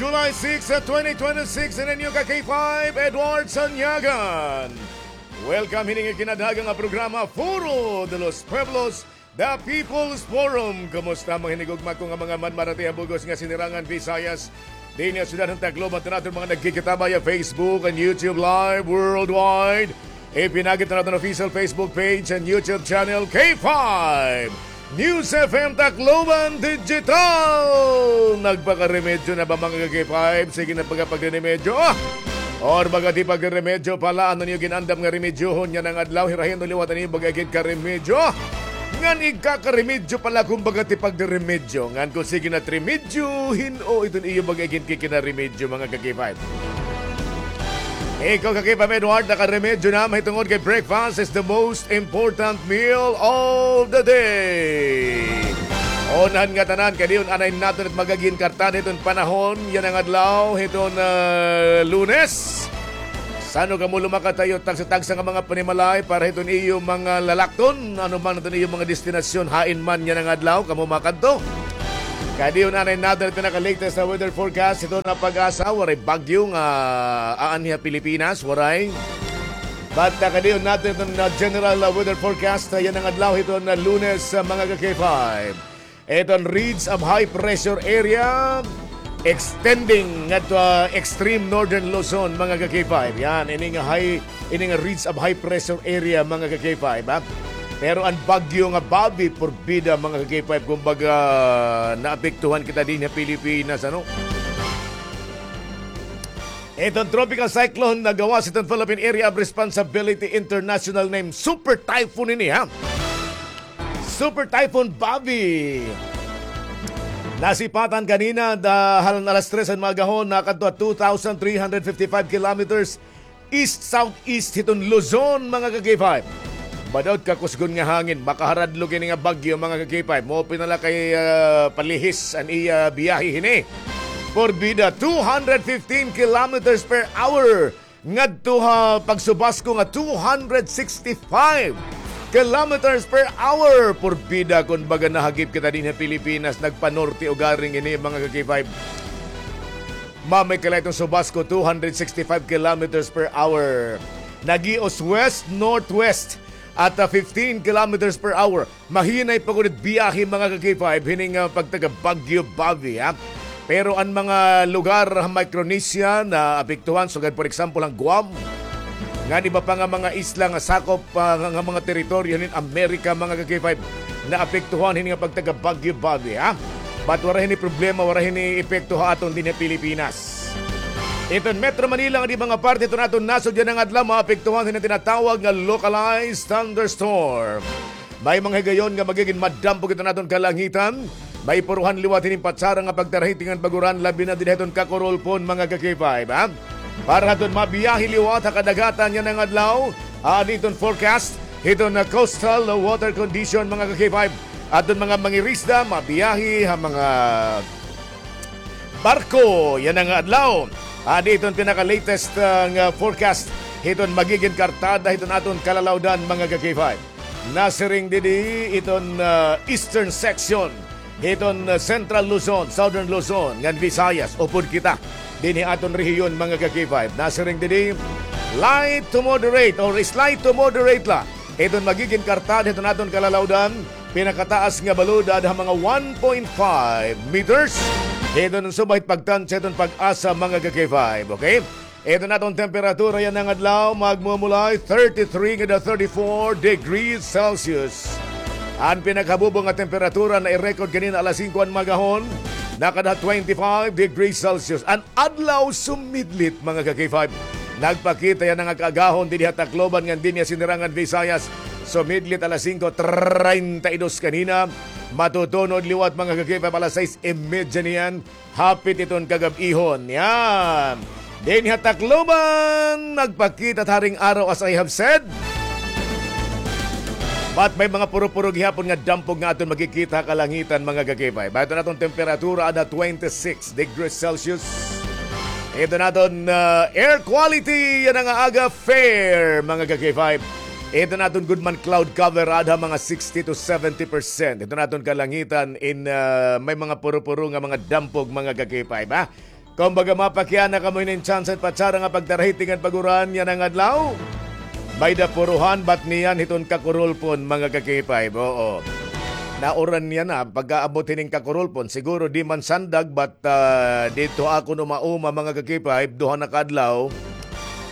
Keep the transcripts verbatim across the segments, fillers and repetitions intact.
July six, twenty twenty-six, in a new ka K five, Edward Sanyagan. Welcome hini nga kinadhagan nga programa, Foro de los Pueblos, The People's Forum. Kumusta, mga hinigugma ko nga mga manmarati ha bug-os nga sinirangan Visayas? Dinhi ha syudad han Tacloban, tanan naton mga nagkikita via Facebook and YouTube Live worldwide. Ipinagi naton official Facebook page and YouTube channel, K five News F M Tacloban Digital. Nagpakaremedyo na ba, mga ka-K five? Sige na pagkapagre-remedyo. Ah! Or baga ti pagre-remedyo pala, ano niyo ginandam nga remedyohon yana nga adlaw? Hirahin o liwat an iyo baga gid karemedyo. Ngan igkakaremedyo pala kon baga ti pagre-remedyo. Ngan kon sige na remedyo, hin-o iton iyo baga gid kikinaremedyo, mga ka-K five? Ikaw, ka-K five Edward, nakaremedyo na, mahitungod kay breakfast is the most important meal of the day. Unahan ngatanan, kay diyon anay naton it magigin kartada hiton panahon yana nga adlaw, hiton, ah, Lunes. San-o kamo lumakad ha iyo tagsa-tagsa nga mga panimalay para hiton iyo mga lalakton, ano man hiton iyo mga destinasyon, hain man yana nga adlaw kamo makadto? Kay diyon anay naton it pinaka-latest na weather forecast hiton na PAGASA. Waray bagyo nga aanhi ha Pilipinas, waray. But, ah, kay diyon naton iton, ah, general, ah, weather forecast, ah, yana nga adlaw hiton, ah, Lunes, ah, mga ka-K five. Iton ridge of high pressure area extending ngadto, ah, extreme northern Luzon, mga ka-K five. Yan, ini nga high, ini nga ridge of high pressure area, mga ka-K five, ha? Pero an bagyo nga Bobby, porbida, mga ka-K five, kumbaga, naapektuhan kita dinhi ha Pilipinas, ano? Iton tropical cyclone na gawas hiton Philippine Area of Responsibility International, name Super Typhoon ini, ha? Super Typhoon Bobby. Nasipatan kanina, da, han alas tres han mga agahon, nakadto ha two thousand three hundred fifty-five kilometers east-southeast hiton Luzon, mga ka-K five. Badaw it kakusgon nga hangin, makaharadlog ini nga bagyo, mga ka-K five. Maupay na la kay, ah, palihis an iya biyahe hini. Porbida, two hundred fifteen kilometers per hour. Ngadto ha pagsubasko nga two hundred sixty-five kilometers per hour. Porbida, kon baga nahagip kita dinhi ha Pilipinas, nagpanorte ugaring ini, mga ka-K five. Mamay kala iton subasko, two hundred sixty-five kilometers per hour. Nagios west-northwest at, ah, fifteen kilometers per hour. Mahinay pa gud it biyahe, mga ka-K five, hini nga pagtaga Bagyo Bobby, ha? Pero an mga lugar ha Micronesia naapektuhan, sugad, for example, an Guam, ngan iba pa nga mga isla nga sakop, ah, nga, nga mga teritoryo hinin Amerika, mga ka-K five, naapektuhan hini nga pagtaga Bagyo Bobby, ha? But waray hini problema, waray hini epekto ha aton dinhi ha Pilipinas. Iton Metro Manila ngan iba nga parte hiton aton nasod yana nga adlaw maapektuhan hini tinatawag nga localized thunderstorm. May mga higayon nga magigin madampog iton aton kalangitan. May puruhan liwat hinin patsara nga pagtarahiti ngan pag-uran, labi na dinhi hiton Cacorolpon, mga ka-K five, ha? Para hiton mabiyahe liwat ha kadagatan yana nga adlaw, adi iton forecast hiton, ah, coastal water condition, mga ka-K five. Aton mga mangirisda, mabiyahe ha mga barko yana nga adlaw. Adi iton pinaka-latest, ah, nga forecast hiton magigin kartada hiton aton kalalawdan, mga ka-K five. Nasiring didi iton, ah, eastern section hiton, ah, Central Luzon, Southern Luzon, ngan Visayas, upod kita dinhi aton rehiyon, mga ka-K five. Nasiring didi, light to moderate or slight to moderate la iton magigin kartada hiton aton kalalawdan, pinakataas nga balod ada ha mga one point five meters. Hiton subay pagtansya hiton PAGASA, mga ka-K five, okay? Iton aton temperatura yana nga adlaw, magmumulay thirty-three ngada thirty-four degrees Celsius. An pinakabubo nga temperatura na-record kanina alas singko han mga agahon, nakada twenty-five degrees Celsius. An adlaw sumidlit, mga ka-K five. Nagpakita yana nga kaagahon dinhi ha Tacloban ngan dinhi ha Sinirangan Visayas. Sumidlit alas singko treinta y dos kanina. Matutunod liwat, mga ka-K five, alas sais y media niyan. Hapit iton kagab-ihon. Yan. Dinhi ha Tacloban, nagpakita it haring araw, as I have said. But may mga puro-puro gihapon nga dampog nga aton makikita ha kalangitan, mga ka-K five. Iton aton temperatura ada twenty-six degrees Celsius. Iton aton, ah, air quality yana nga aga, fair, mga ka-K five. Iton aton gud man cloud cover ada mga sixty to seventy percent. Iton aton kalangitan in, ah, may mga puro-puro nga mga dampog, mga ka-K five, ha? Kumbaga, mapakiana kamo hinin tsansa hin patsara nga pagtarahiting han pag-uran yana nga adlaw. May-ada puruhan, bat niyan hiton Kakurulpon, mga ka-K five, oo. Nauran yana, pagkaabot hining Kakurulpon, siguro di man sandag, bat, ah, didto ako umauma, mga ka-K five, duha na ka adlaw.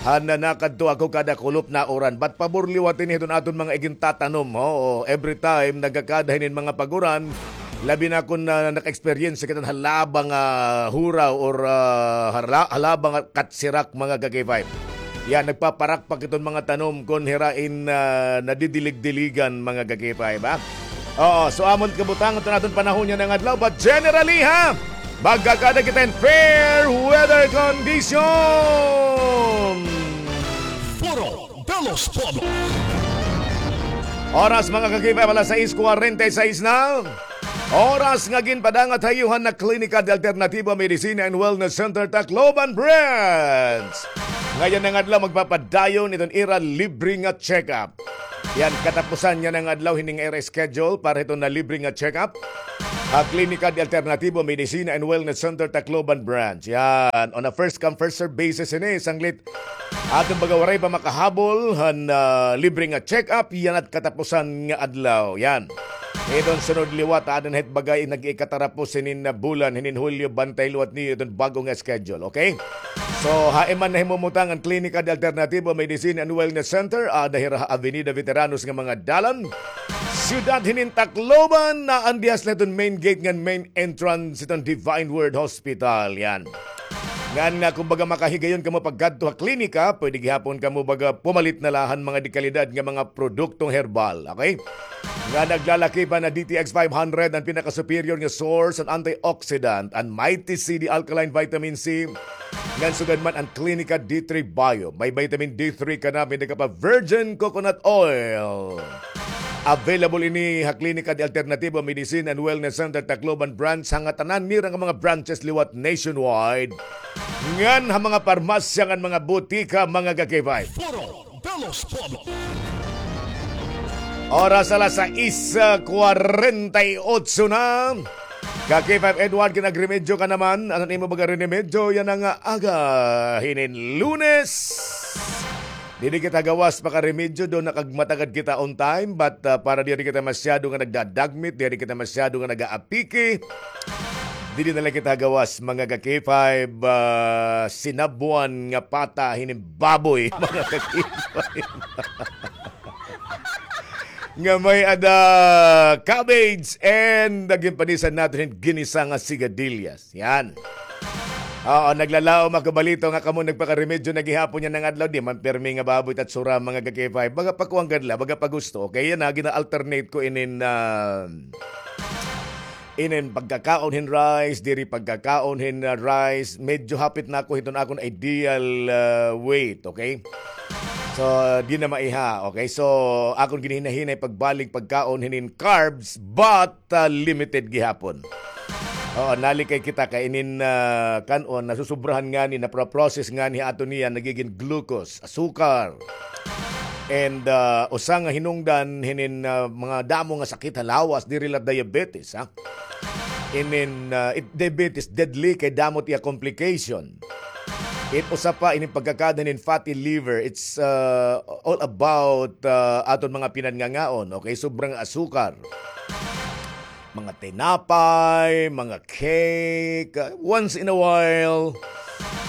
Han nakadto ako kada kulop nauran. Bat pabor liwat ini hiton aton mga igintatanom, oo. Every time, nagakada hinin mga pag-uran, labi na kon, ah, naka-experience kita han halaba nga huraw or, ah, hala-, halaba nga katsirak, mga ka-K five. Yan, nagpaparakpak iton mga tanom kon hira in, ah, nadidilig-diligan, mga ka-K five, ha? Oo, so amo it kabutangan iton aton panahon yana nga adlaw, but generally, ha, magkakada kita hin fair weather condition. Foro de los Pueblos. Oras, mga ka-K five, alas sais kwarenta y sais na. Oras nga ginpadangat ha iyo han Klinika de Alternativa Medicina and Wellness Center, Tacloban Branch. Yana nga adlaw magpapadayon iton ira libre nga check-up. Yan, katapusan yana nga adlaw hini nga ira schedule para hiton libre nga check-up ha Klinika de Alternativa Medicina and Wellness Center, Tacloban Branch. Yan, on a first come, first serve basis ini, sanglit aton baga waray pa makahabol han, ah, libre nga check-up, yana it katapusan nga adlaw. Yan. Iton sunod liwat, aada na hit baga nag-ikatarapos hinin nga bulan, hinin Hulyo, bantay liwat niyo iton bag-o nga schedule, okay? So, ha iman nahimumutang an Klinika de Alternativa Medicine and Wellness Center, aada hira ha Avenida Veteranos nga mga dalan, siyudad hinin Tacloban, na an dihas la iton main gate ngan main entrance iton Divine Word Hospital. Yan. Ngan nga, kumbaga, makahigayon kamo pagkadto ha klinika, pwede gihapon kamo baga pumalit na la han mga dekalidad nga mga produktong herbal, okay? Nga naglalakip han D T X five hundred, an pinaka-superior nga source han antioxidant, an Mighty C D alkaline vitamin C, ngan sugad man an Klinika D three Bio. May vitamin D three ka na, may ka pa virgin coconut oil. Available ini ha Klinika de Alternativo Medicine and Wellness Center Tacloban Branch, ha ngatanan nira nga mga branches liwat nationwide. Ngan ha mga parmasya ngan mga butika, mga ka-K five. Foro de los Pueblos. Oras alas sais kwarenta y otso na. Ka-K five Edward, kinagremedyo ka naman. Ano an imo baga rinemedyo yana nga aga hinin Lunes? Diri kita gawas pakaremedyo, daw nakagmatagad kita on time, but, ah, para diri kita masyado nga nagdadagmit, diri kita masyado nga nag-aapiki, diri na la kita gawas, mga ka-K five, ah, sinabwan nga pata hinin baboy, mga ka-K five. Nga may-ada cabbage and ginpanisan naton hin ginisa nga sigarilyas. Yan. Oo, naglalaom ako balita nga kamo nagpakaremedyo na gihapon yana nga adlaw. Di man pirmi nga baboy it atsura, mga ka-K five. Baga pa kuan gad la, baga pa gusto. Okay, yana, gina-alternate ko inin, ah, inin pagkakaon hin rice, diri pagkakaon hin, ah, rice. Medyo hapit na ako hiton akon ideal, ah, weight, okay? So, di na maiha, okay? So, akon ginhinahinay pagbalik pagkaon hinin carbs, but ah, limited gihapon. Oo, nalikay kita kay inin, ah, kan-on, nasusubrahan ngani, napro-process ngani ha aton niyan, nagigin glucose, asukar. And, ah, usa nga hinungdan hinin, ah, mga damo nga sakit ha lawas, diri la diabetes, ha? Inin, ah, it, diabetes, deadly kay damo it iya complication. It usa pa inin pagkakada hinin fatty liver. It's, uh, all about, uh, aton mga pinanngangaon. Okay, sobrang asukar. Mga tinapay, mga cake, uh, once in a while,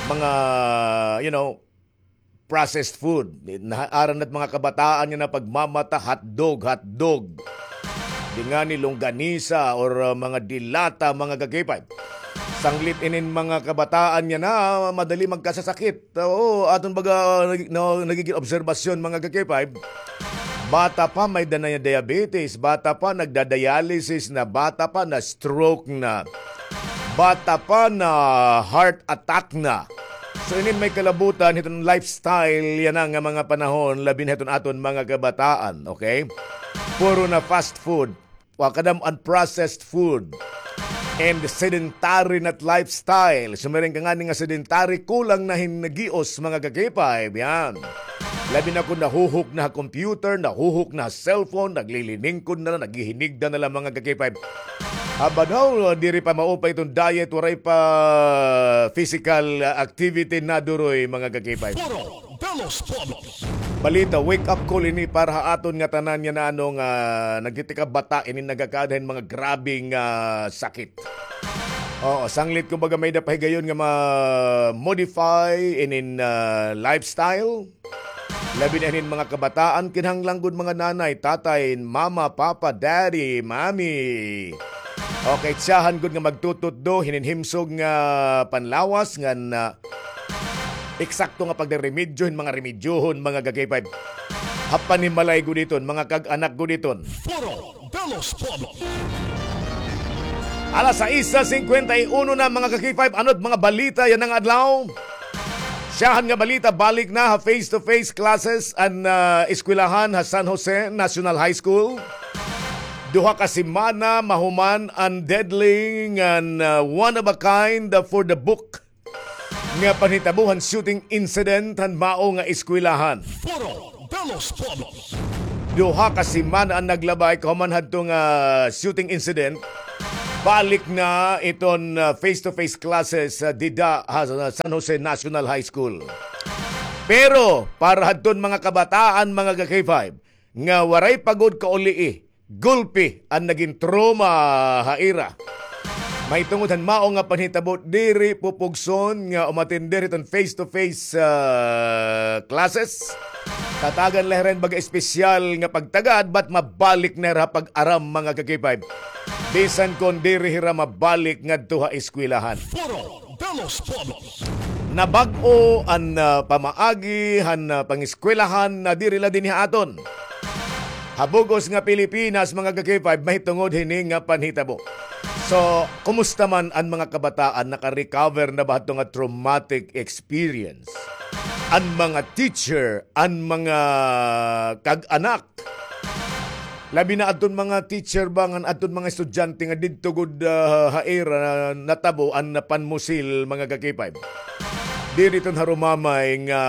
mga, you know, processed food. Naaran na it mga kabataan yana pagmamata, hotdog, hotdog. Di ngani longganisa or, uh, mga dilata, mga ka-K five. Sanglit inin mga kabataan yana, madali magkasasakit. Oo, aton baga, nag-, no, nagigin obserbasyon, mga ka-K five. Bata pa, may-ada na diabetes. Bata pa, nagda-dialysis na. Bata pa, na-stroke na. Bata pa, na-heart attack na. So, inin may kalabutan hiton lifestyle yana nga mga panahon, labi na hiton aton mga kabataan, okay? Puro na fast food, wa kadam-an processed food, and sedentary na it lifestyle. Sumiring ka ngani nga sedentary, kulang na hin gios, mga ka-K five, yan. Labi na kon nahuhok na ha computer, nahuhok na ha cellphone, nagliliningkod na la, naghihinigda na la, mga ka-K five. Aba daw, diri pa maupay iton diet, waray pa physical, ah, activity naduroy, mga ka-K five. Puro de los Pueblos. Balita, wake up call ini para ha aton nga tanan nga naano nga nagtitikabata ini nagakada hin mga grabeng, ah, sakit. Oo, sanglit kumbaga may-ada pa higayon nga ma-modify inin, ah, lifestyle. Labi na hinin mga kabataan, kinahanglan gud mga nanay, tatay, mama, papa, daddy, mami. Okay, tsahan gud nga magtututdo hinin himsog nga panlawas ngan eksakto nga pagdaremedyo hin mga remedyohon, mga ka-K five. Ha panimalay gud iton, mga kag-anak gud iton. Puro de los Pueblos. Alas sais singkwenta y uno na, mga ka-K five. Ano it mga balita yana nga adlaw? Syahan nga balita, balik na ha face-to-face classes an, ah, eskwelahan ha San Jose National High School. Duha ka semana mahuman an deadly ngan, ah, one of a kind for the book nga panhitabo han shooting incident han mao nga eskwelahan. Foro de los Pueblos. Duha ka semana an naglabay kahuman hadto nga shooting incident. Balik na iton, ah, face-to-face classes, ah, dida ha San Jose National High School. Pero para hadton mga kabataan, mga ka-K five, nga waray pa gud kaulii, gulpi an nagin trauma ha ira. Mahitungod han mao nga panhitabo, diri pupugson nga umatender hiton face-to-face, ah, classes. Tatagan la hira hin baga espesyal nga pagtagad, but mabalik na hira ha pag-aram, mga ka-K five. Bisan kon diri hira mabalik ngadto ha eskwelahan. Foro de los Pueblos. Nabag-o an, ah, pamaagi han, ah, pangeskwelahan na diri la dinhi ha aton. Ha bug-os nga Pilipinas, mga ka-K five, mahitungod hini nga panhitabo. So, kumusta man an mga kabataan? Naka-recover na ba hadto nga traumatic experience? An mga teacher, an mga kag-anak, labi na adton mga teacher ba ngan adton mga estudyante nga didto gud, ah, ha ira natabo an panmusil, mga ka-K five. Diri iton harumamay nga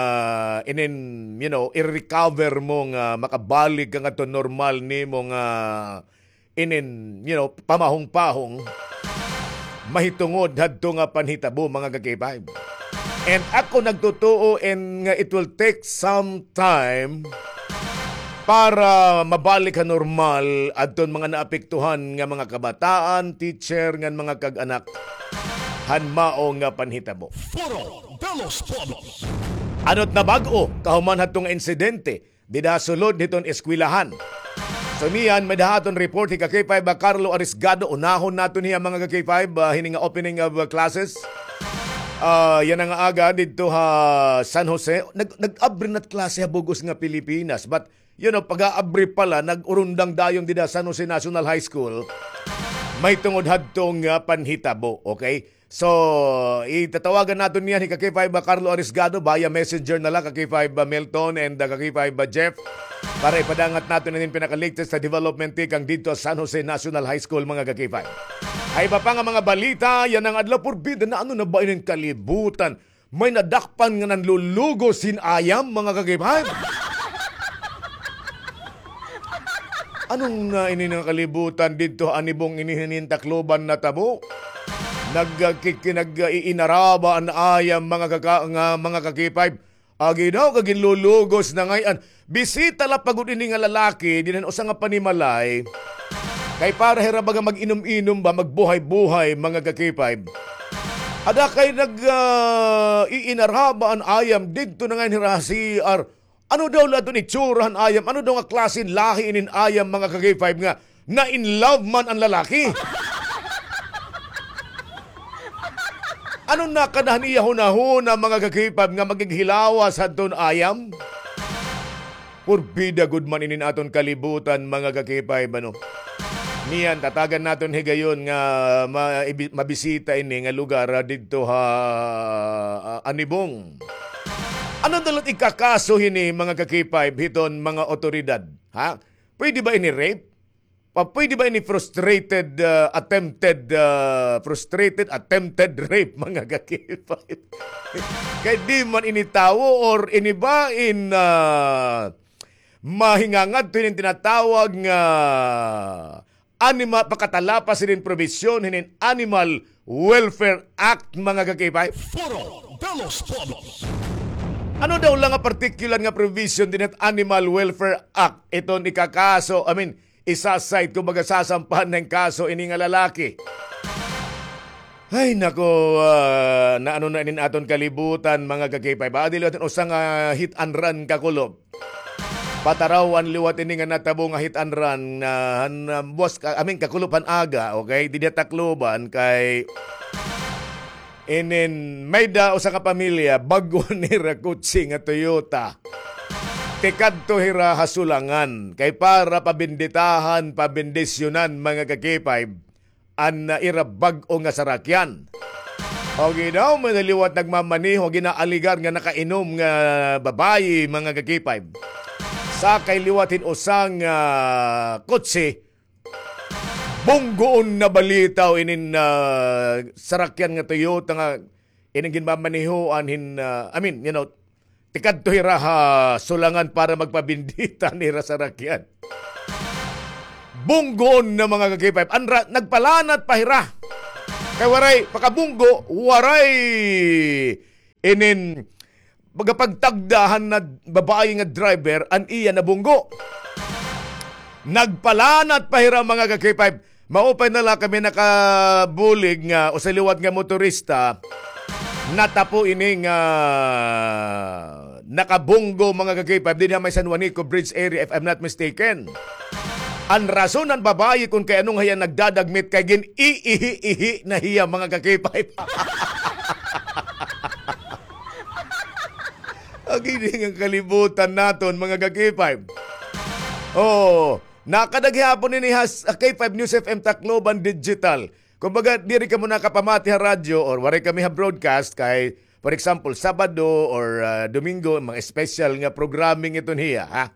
inin, you know, i-recover mo nga makabalik ka ngadto normal nimo nga inin, you know, pamahong-pahong mahitungod hadto nga panhitabo, mga ka-K five. And ako nagtutuo in nga it will take some time para mabalik ha normal adton mga naapektuhan nga mga kabataan, teacher, ngan mga kag-anak han mao nga panhitabo. Foro de los Pueblos. Ano't nabag-o kahuman hadto nga insidente dida sulod hiton eskwelahan? So niyan, may-ada ha aton report hi ka-K five, ah, Carlo Arisgado. Unahon naton hiya, mga ka-K five, ah, hini nga opening of, ah, classes. Ah, yana nga aga didto ha San Jose. Nag-, nag-abri na't klase ha bug-os nga Pilipinas. But, you know, pag-aabri pala, nag-urundang dayon dida San Jose National High School. Mahitungod hadto nga panhitabo, okay? So, itatawagan naton niyan hi ka-K five, ah, Carlo Arisgado, via messenger na la, ka-K five, ah, Milton and, ah, ka-K five, ah, Jeff, para ipadangat naton inin pinaka-latest na development tikang didto ha San Jose National High School, mga ka-K five. Ha iba pa nga mga balita yana nga adlaw, purbida na, ano na ba inin kalibutan? May nadakpan nga nanlulugos hin ayam, mga ka-K five. Ano na ini nga kalibutan didto ha Anibong ini hinin Tacloban natabo? Nag-, ah, kiki-, nag-, ah, iinaraba an ayam, mga kaka-, nga, mga ka-K five. Agi daw, kaginlulugos na ngay-an. Bisita la pa gud ini nga lalaki dinhi han usa nga panimalay. Kay para hira baga mag-inom-inom ba, magbuhay-buhay, mga ka-K five. Ada kay nag, ah, iinaraba an ayam didto na ngay-an hira ha C R. Ano daw la iton itsura han ayam? Ano daw nga klase hin lahi inin ayam, mga ka-K five, nga na-in love man an lalaki? Ano nakada han iya hunahuna, mga ka-K five, nga magighilawas hadton ayam? Purbida gud man inin aton kalibutan, mga ka-K five, ano? Niyan, tatagan naton higayon nga ma-, ibi-, mabisita ini nga lugar, ah, didto ha, ah, Anibong. Ano daw la it ikakaso hini, mga ka-K five, hiton mga awtoridad? Ha? Pwede ba ini rape? Pa-, pwede ba ini frustrated, ah, attempted, ah, frustrated attempted rape, mga ka-K five? Kay di man ini tawo or ini ba in, ah, mahingangadto hinin tinatawag nga anima-, pakatalapas hinin probisyon hinin animal Welfare Act, mga ka-K five. Foro de los Pueblos. Ano daw la nga particular nga provision dinhi ha Animal Welfare Act iton ikakaso, I mean, isa-cite, kumbaga, sasampahan hin kaso ini nga lalaki? Ay, nako, ah, naano na inin aton kalibutan, mga ka-K five. Adi liwat usa nga hit and run, kakulop. Patarawan liwat ini nga natabo nga hit and run, ah, han, ah, buwas ka, I mean, kakulop han aga, okay? Didi ha Tacloban kay inin may-ada usa ka pamilya, bag-o nira kotse nga Toyota. Tikadto hira ha Sulangan kay para pabenditahan, pabendisyonan, mga ka-K five, an, ah, ira bag-o nga sarakyan. O ginaw, may naliwat nagmamaneho, ginaaligar nga nakainom nga babayi, mga ka-K five. Sakay liwat hin usa nga, ah, kotse, bunggoon na balitaw inin, ah, sarakyan nga Toyota nga ining ginmamanehoan hin, ah, I mean, you know, tikadto hira ha Sulangan para magpabendita han ira sarakyan. Bunggoon na, mga ka-K five. Anra, nagpalanat pa hira. Kay waray, pakabunggo, waray inin, baga pagtagda han babayi nga driver, an iya nabunggo. Nagpalanat pa hira, mga ka-K five. Maupay na la kami nakabulig nga usa liwat nga motorista, natapo ini nga nakabunggo, mga ka-K five, dinhi ha may San Juanico Bridge area, if I'm not mistaken. An rason han babayi kon kay ano nga hiya nagdadagmit kay gin-iihi-ihi na hiya, mga ka-K five. Agi ini nga kalibutan naton, mga ka-K five. Oo. Nakada gihapon ini ha s-, ha K five News F M Tacloban Digital. Kumbaga, diri kamo nakapamati ha radyo or waray kami ha broadcast kay, for example, Sabado or, ah, Domingo, mga special nga programming iton hiya, ha?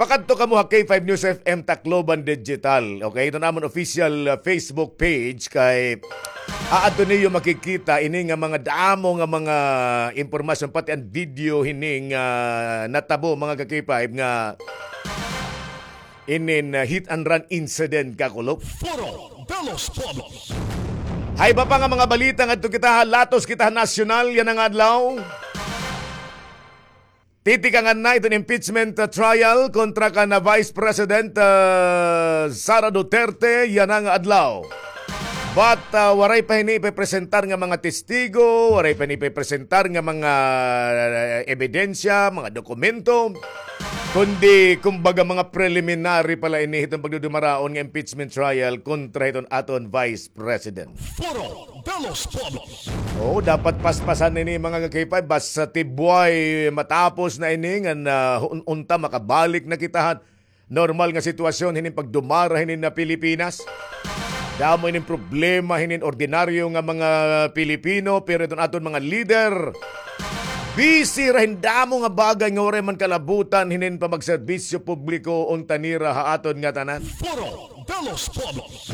Pakadto kamo ha K five News F M Tacloban Digital, okay? Iton amon official, ah, Facebook page kay aadto niyo makikita ini nga mga damo nga mga impormasyon, pati an video hini nga natabo, mga ka-K five, nga inin, ah, hit and run incident, kakulop. Foro de los Pueblos. Ha iba pa nga mga balita ngadto kita ha, latos kita ha nasyonal yana nga adlaw. Titikangan na iton impeachment, ah, trial kontra kan, ah, Vice President, ah, Sara Duterte yana nga adlaw. But, ah, waray pa hini ipipresentar nga mga testigo, waray pa hini ipipresentar nga mga, ah, ebidensya, mga dokumento, kundi, kumbaga, mga preliminary pa la ini hiton pagdudumaraon nga impeachment trial kontra hiton aton Vice President. Foro de los Pueblos. Oo, dapat paspasan ini, mga ka-K five, basta tibway matapos na ini ngan, ah, un-, unta makabalik na kita han normal nga sitwasyon hinin pagdumara hinin na Pilipinas. Damo inin problema hinin ordinaryo nga mga Pilipino, pero iton aton mga lider, busy ra hin damo nga bagay nga waray man kalabutan hinin pamagserbisyo publiko unta nira ha aton ngatanan. Foro de los Pueblos.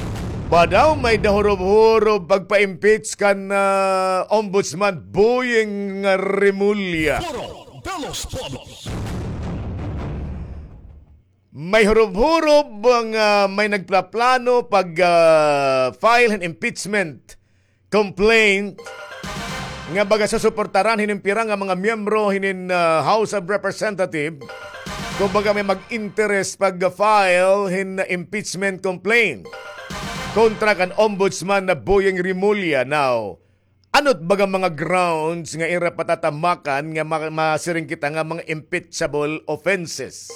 Ba daw may-ada hurob-hurob pagpa-impeach kan, ah, Ombudsman Boying Remulla? Foro de los Pueblos. May hurob-hurob nga may nagplaplano pag, ah, file hin impeachment complaint nga baga susuportaran hinin pira nga mga miyembro hinin, ah, House of Representative, kumbaga may mag-interest pag-file hin impeachment complaint kontra kan Ombudsman na Boying Remulla. Now, ano it baga mga grounds nga ira patatamakan nga ma-, masiring kita nga mga impeachable offenses?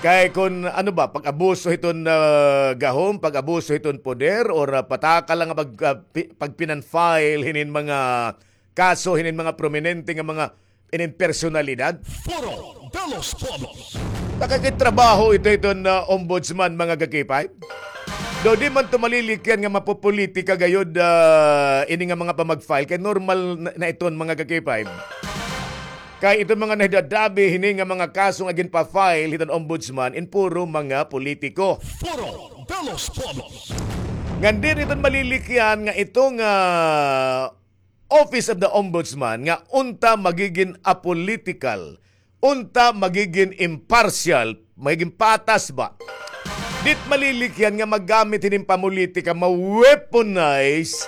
Kay kun ano ba, pag-abuso hiton, ah, gahom, pag-abuso hiton poder, or, ah, pataka la nga pag-, ah, pi-, pagpinan-file hinin mga kaso hinin mga prominente nga mga inin personalidad? Foro de los Pueblos. Nakakit trabaho ito, ito na ombudsman, mga ka-K five. Daw di man to malilikyan nga mapopolitika gayod, ah, ini nga mga pamag-file. Kay normal na, na iton, mga ka-K five. Kay iton mga nahidadabi hini nga mga kaso nga ginpa-file hiton ombudsman in puro mga politiko. Foro de los Pueblos. Ngan diri iton malilikyan nga ito nga Office of the Ombudsman nga unta magigin apolitical, unta magigin impartial, magigin patas ba? Dit malilikyan nga maggamit hinin pamolitika, ma-weaponize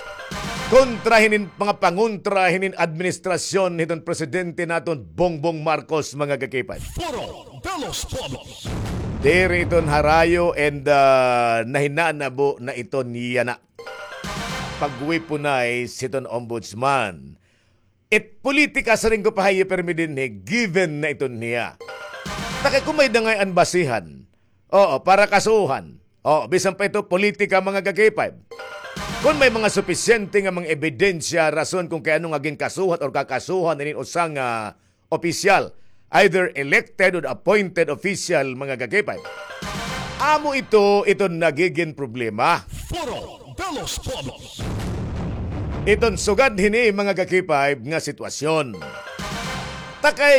kontra hinin mga pangontra hinin administrasyon hiton presidente naton Bongbong Marcos, mga kakipay. Foro de los Pueblos. Diri iton harayo and, ah, nahinanabo na iton yana. Pag-weaponize hiton ombudsman. It politika, siring ko pa ha iyo pirmi dinhi, given na iton hiya. Ta kay kon may-ada ngay-an basihan, oo, para kasuhan. Oo, bisan pa ito politika, mga kakipay. Kon may mga supisyente nga mga ebidensya, rason kon kay ano nga ginkasuhan or kakasuhan inin usa nga opisyal, either elected or appointed official, mga kakipay. Amo ito, ito nagigin problema. Foro de los Pueblos. Iton sugad hini, mga kakipay, nga sitwasyon. Ta kay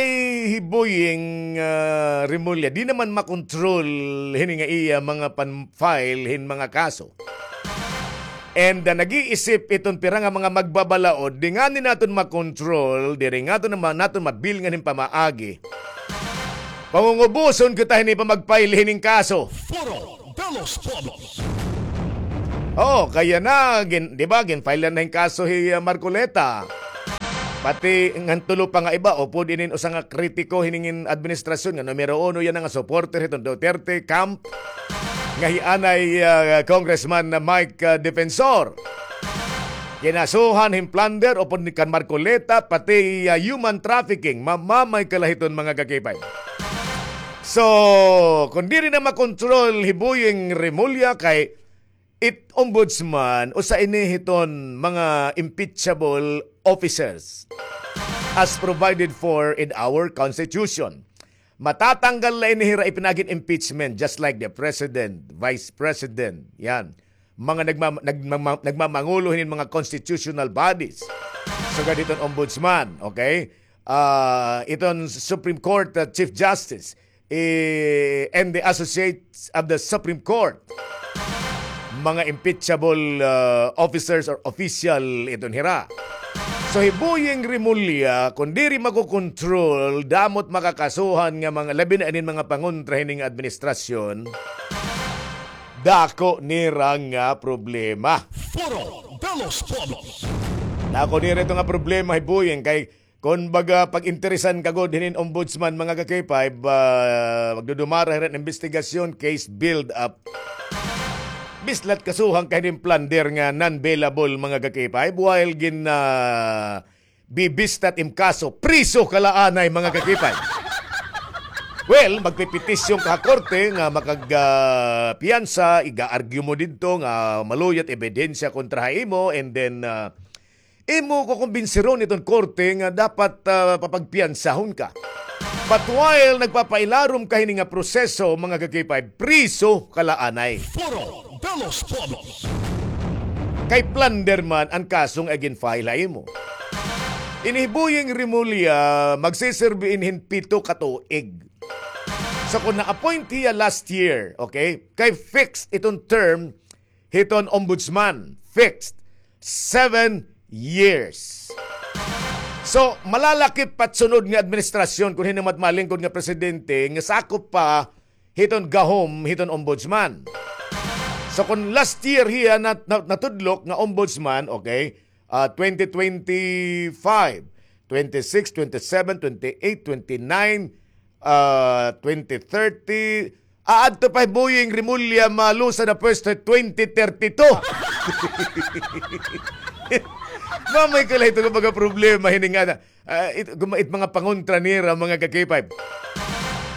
hi Boying, ah, Remulla, di naman makontrol hini nga iya mga pan-file hin mga kaso. And, ah, nag-iisip iton pira nga mga magbabalaod, di ngani naton makontrol, diri ngani naton mabilngan hin pamaagi. Pangungubuson kita hini pa mag-file hining kaso. Foro de los Pueblos. Oo, kay yana, gin-, di ba, gin-file na hin kaso hi, ah, Marcoleta. Pati ngan tulo pa nga iba, upod inin usa nga kritiko hining administrasyon nga numero uno yana nga supporter hiton Duterte camp. Nga hi anay, ah, Congressman na Mike, ah, Defensor. Kinasuhan hin plunder upod ni kan Marcoleta, pati, ah, human trafficking, mamamay kalahiton, mga kakipay. So, kon diri na makontrol hi Boying Remulla kay it ombudsman, usa ini hiton mga impeachable officers as provided for in our constitution. Matatanggal na ini hira ipinagin impeachment, just like the president, vice president, yan. Mga nagma-, nagmama-, nagmamangulo hinin mga constitutional bodies. Sugad hiton ombudsman, okay? Ah, iton Supreme Court, ah, Chief Justice, eh, and the Associates of the Supreme Court. Mga impeachable, ah, officers or official iton hira. So, hi Boying Remulla, kon diri makokontrol, damo it makakasuhan nga mga, labi na inin mga pangontra hining administrasyon, dako nira nga problema. Foro de los Pueblos. Dako nira ito nga problema, hi Boying, kay kon baga pag-interesan ka gud hinin ombudsman, mga ka-K five, ah, magdudumara hira hin investigasyon, case build up. Bislat kasuhan ka hinin plunder nga non-bailable, mga ka-K five, while gin, ah, bibistat im kaso, priso ka la anay, mga ka-K five. Well, magpepetisyon ka ha korte nga makag, ah, piyansa, iga-argue mo didto nga maluyat ebidensya kontra ha imo, and then, ah, imo kukumbinsiron iton korte nga dapat, ah, papagpiyansahon ka. But while nagpapailarom ka hini nga proseso, mga ka-K five, priso ka la anay. Foro de los Pueblos. Kay plunder man an kaso nga gin-file ha imo. Ini hi Boying Remulla, magsiserbi ini hin pito ka tuig. So, kon na-appoint hiya last year, okay, kay fixed iton term hiton ombudsman, fixed, seven years. So, malalakip pa it sunod nga administrasyon kon hin-o man it malingkod nga presidente nga sakop pa hiton gahom hiton ombudsman. So, kon last year hiya nat-, nat-, natudlok nga ombudsman, okay, ah, twenty twenty-five, twenty-six, twenty-seven, twenty-eight, twenty-nine, ah, twenty thirty, aadto pa hi Boying Remulla malusa na pwesto twenty thirty-two. Mamay ka la ito nga mga problema hini nga na, ah, it, guma-, it mga pangontra nira, mga ka-K five.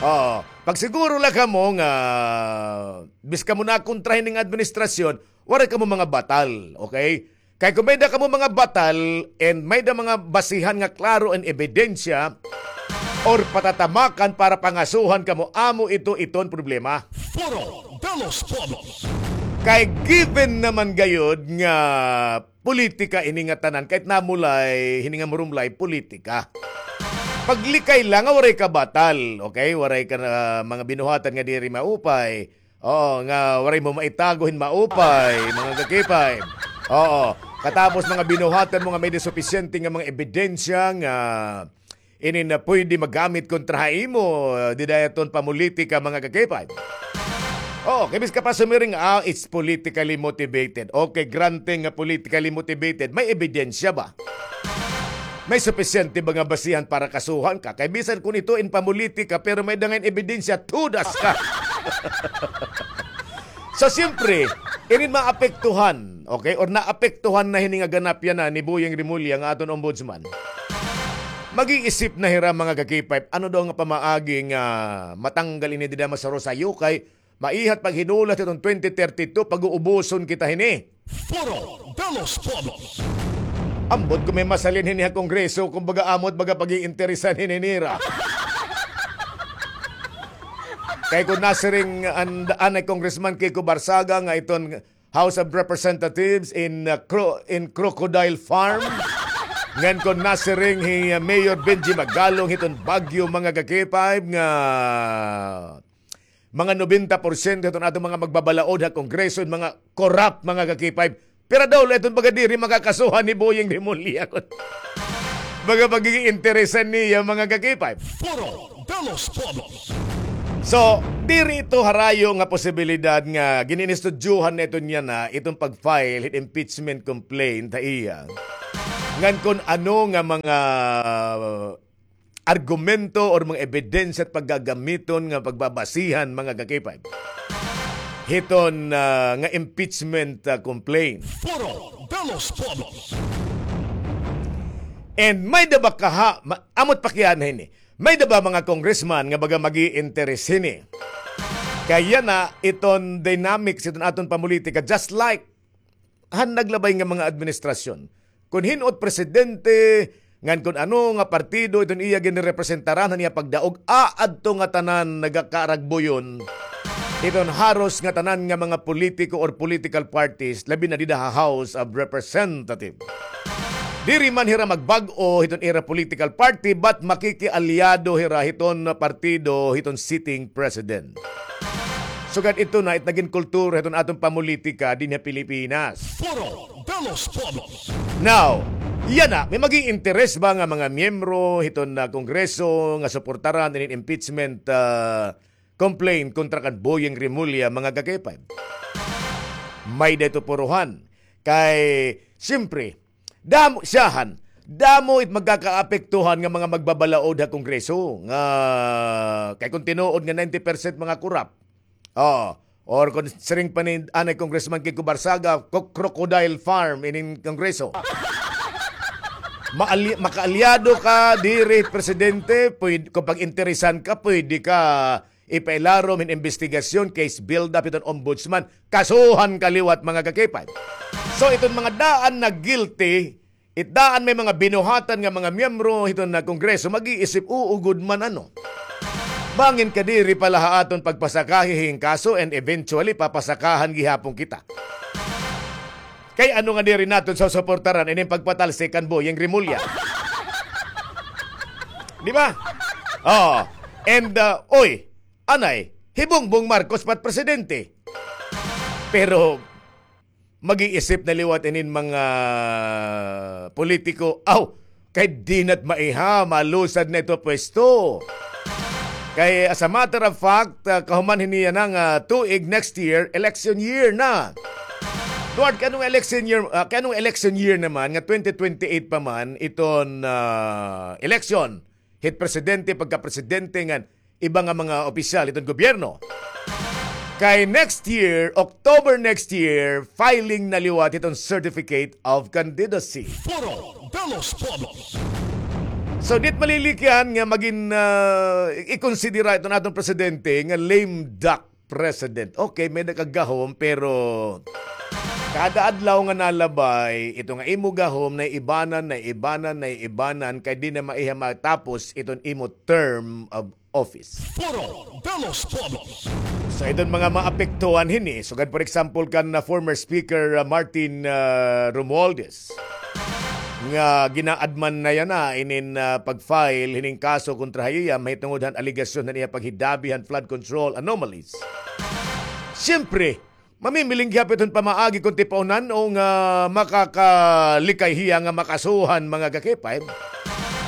Oo. Pagsiguro la kamo nga bis kamo nakontra hining administrasyon, waray kamo mga batal, okay? Kay kon may-ada kamo mga batal and may-ada mga basihan nga klaro and ebidensya or patatamakan para pangasuhan kamo, amo ito iton problema. Foro de los Pueblos. Kay given naman gayod nga politika ini nga tanan, kahit namulay, hini nga murumlay, politika. Paglikay la nga waray ka batal, okay? Waray ka na mga binuhatan nga diri maupay. Oo, nga waray mo maitago hin maupay, mga ka-K five. Oo. Katapos mga binuhatan mo nga may-ada supisyente nga mga ebidensya nga ini na pwede magamit kontra ha imo, dida iton pamolitika, mga ka-K five. Oh, kay bisan ka pa sumiring, ah, it's politically motivated. Okay, granting nga politically motivated, may ebidensya ba? May supisyente ba nga basihan para kasuhan ka? Kay bisan kun ito in pamolitika, pero may-ada ngay-an ebidensya, tudas ka. So, siyempre, inin maapektuhan, okay, or naapektuhan na hini nga ganap yana ni Boying Remulla nga aton ombudsman. Mag-iisip na hira, mga ka-K five, ano daw nga pamaagi nga matanggal ini dida masaro sayo kay maihat paghinulat hiton twenty thirty-two, pag-uubuson kita hini. Foro de los Pueblos. Ambot ko may masalin hini ha Kongreso, kumbaga amo it baga pag-iinteresan hini nira. Kay kun nasiring an, anay Congressman Kiko Barsaga nga iton House of Representatives in, uh, cro-, in crocodile farm. Ngan kun nasiring hi, uh, Mayor Benji Magalong hiton Baguio, mga ka-K five, nga mga nobenta porsyento hiton aton mga magbabalaod ha Kongreso, mga corrupt, mga ka-K five. Pero daw, iton baga diri makakasuhan ni Boying Remulla. Baga pag-iinteresan niya, mga ka-K five. Foro de los Pueblos. So, diri ito harayo nga posibilidad nga gin-inistudyohan na ito niya na itong pag-file hin impeachment complaint ha iya. Ngan kun ano nga mga argumento or mga ebidensya at paggagamiton nga pagbabasihan, mga ka-K five, hiton, ah, nga impeachment, ah, complaint. Foro de los Pueblos. And may-ada ba kaha, ma-, amo it pakiana hini. May-ada ba mga congressman nga baga mag-iinteres hini? Kay yana iton dynamics hiton aton pamolitika, just like han naglabay nga mga administrasyon. Kun hin-o it presidente, ngan kun ano nga partido iton iya ginrepresentaran han iya pagdaog, aadto ngatanan nagakaaragbuyon iton haros ngatanan nga mga politiko or political parties, labi na dida ha House of Representatives. Diri man hira magbag-o hiton ira political party, but makikialyado hira hiton partido, hiton sitting president. Sugad ito na it nagin kultura hiton aton pamolitika dinhi ha Pilipinas. Foro de los Pueblos. Now, yana, may mag-iinteres ba nga mga miyembro hiton, ah, Kongreso nga suportaran inin impeachment, ah, complaint kontra kan Boying Remulla, mga ka-K five? May-ada ito puruhan. Kay, siyempre, damo, siyahan, damo it magkakaapektuhan nga mga magbabalaod ha Kongreso. Nga, kay kun tinuod nga ninety percent mga korap. Oh, or kun siring pa ni anay Congressman Kiko Barsaga, co-, crocodile farm inin Kongreso. Maali-, makaalyado ka diri, presidente, pwede, kung pag-interesan ka, pwede ka ipailarom hin imbestigasyon, case build-up hiton ombudsman, kasuhan ka liwat, mga ka-K five. So, iton mga daan na guilty, it daan may mga binuhatan nga mga miyembro hiton na Kongreso, mag-iisip, uugod man ano. Bangin ka diri pala ha aton pagpasakahi hin kaso and eventually papasakahan gihapon kita. Kay ano nga diri naton susuportaran ining pagpatalsik kan Boying Remulla? Di ba? Oh. And, uh, oy, anay, hi Bongbong Marcos pa it presidente. Pero mag-iisip na liwat inin mga politiko, aw, kay di na't maiha, malusad na ito pwesto. Kay, as a matter of fact, ah, kahuman hini yana nga tuig, next year, election year na. Duwat, kay ano nga election year, ah, kay ano nga election year naman nga twenty twenty-eight pa man iton, ah, election hit presidente, pagkapresidente ngan iba nga mga opisyal hiton gobyerno. Kay next year, October next year, filing na liwat hiton certificate of candidacy. Foro de los Pueblos. So, di it malilikyan nga magin, ah, i-, ikonsidera iton aton presidente nga lame duck president. Okay, may-ada ka gahom, pero kada adlaw nga nalabay, ito nga imo gahom, naiibanan, naiibanan, naiibanan, kay di na maiha matapos iton imo term of office. Foro de los Pueblos. So, iton mga maapektuhan hini, sugad, for example, kan, uh, former Speaker, uh, Martin, uh, Romualdez, nga ginaadman na yana inin, ah, pag-file hining kaso kontra ha iya mahitungod han alegasyon han iya paghidabi han flood control anomalies. Siyempre, mamimiling gihap iton pamaagi kon tipaunan o nga makakalikay hiya nga makasuhan, mga ka-K five.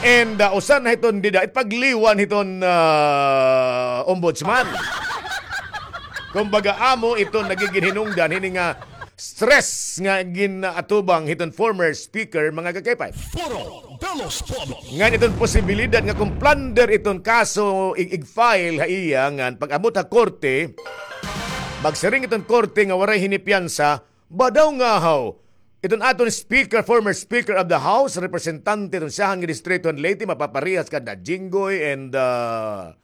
And, ah, usa na hiton dida it pagliwan hiton, ah, ombudsman. Kumbaga, amo iton nagigin hinungdan hini nga stress nga gin-atubang hiton former speaker, mga ka-K five. Foro de los Pueblos. Ngan iton posibilidad nga kon plunder iton kaso ig-, ig-file ha iya, ngan pag-abot ha korte, magsiring iton korte nga waray hini piyansa, ba daw ngahaw iton aton speaker, former speaker of the house, representante iton siyahan nga distrito han Leyte, mapaparehas kanda Jinggoy and, ah,